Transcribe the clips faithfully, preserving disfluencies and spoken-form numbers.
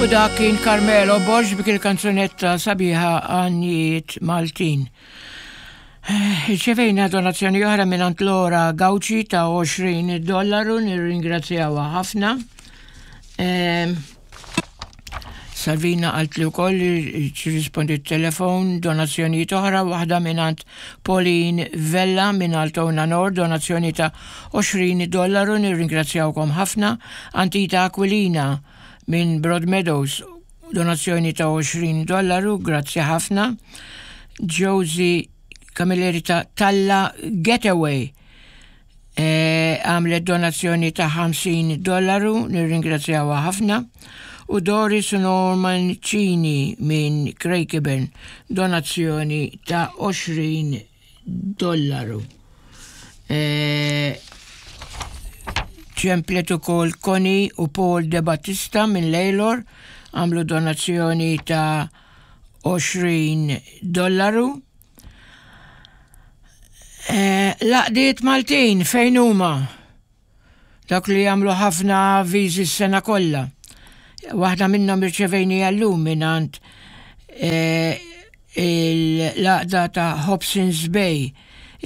U dak kien Carmelo Borg b'dik il-kanzunetta sabiħa Għanjiet Maltin. Irċevejna donazzjoni oħra minn Laura Gauci ta' għoxrin dollaru, nirringrazzjawha ħafna. Ehm, Salvina għalt li wkoll rispondi telefon donazzjoni oħra, waħda minn Pauline Vella minn Altona Nord, donazzjoni ta' għoxrin dollaru, nirringrazzjawkom ħafna. Antita Aquilina minn Broadmeadows, donazzjoni ta' għoxrin dollaru, grazzi ħafna. Josie Camilleri ta' Talla Getaway e, għamlet donazzjoni ta' ħamsin dollaru, nirringrazzjawha ħafna. U Doris Norman Cini minn Craigieburn, donazzjoni ta' għoxrin dollaru. E, ċemplet ukoll Connie u Paul De Battista minn Lalor, għamlu donazzjoni ta' għoxrin dollaru. E, L-għaqdiet Maltin fejn huma? Dak li jagħmlu ħafna avviżi s-sena kollha. Waħda minnhom irċevejnieha llum mingħand e, l-għaqda ta' Hobson's Bay,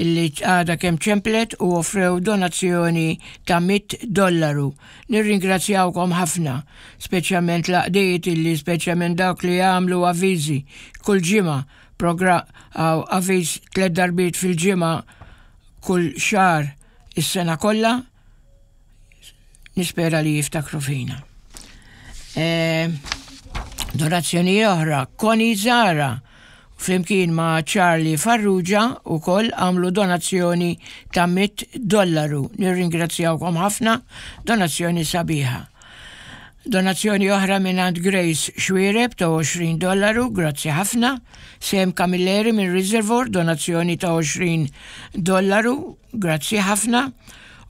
illi għada kemm ċemplet u offrew donazzjoni ta' mitt dollaru. Nirringrazzjawkom ħafna, speċjalment l-għaqdiet illi speċjalment dawk li jagħmlu avviżi kull ġimgħa, avviż tliet darbiet fil-ġimgħa kull xahar is-sena kollha, nispera li jiftakru fina. E, donazzjoni oħra, Connie Zara flimkien ma' Charlie Farrugia ukoll għamlu donazzjoni ta' mitt dollaru. Nirringrazzjawkom ħafna, donazzjoni sabiħa. Donazzjoni oħra minn Grace Xuereb ta' għoxrin dollaru, grazzi ħafna. Sem Camilleri minn Reservoir, donazzjoni ta' għoxrin dollaru, grazzi ħafna.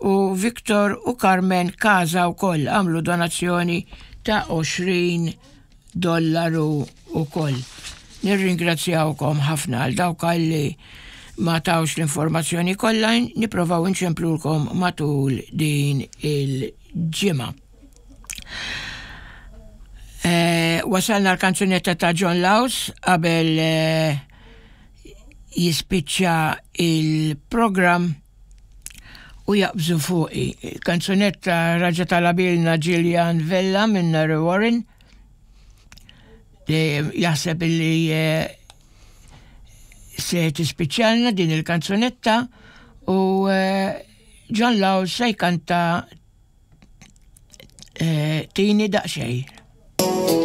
U Victor u Carmen Kaza ukoll għamlu donazzjoni ta' għoxrin dollaru ukoll. Nirringrazzjawkom ħafna. Għal dawk li ma tawx l-informazzjoni kollha, nipprovaw inċemplulkom matul din il-ġimgħa. Eh, wasalna l-kanzunetta ta' John Laus qabel eh, jispiċċa il-program u jaqbżu fuqi. Kanzunetta raġa talabilna Gillian Vella minn Narre Warren li jaħseb illi eh, se tispiċċalna din il-kanzunetta u eh, John Laus se jkanta eh, Tini Daqsxejn.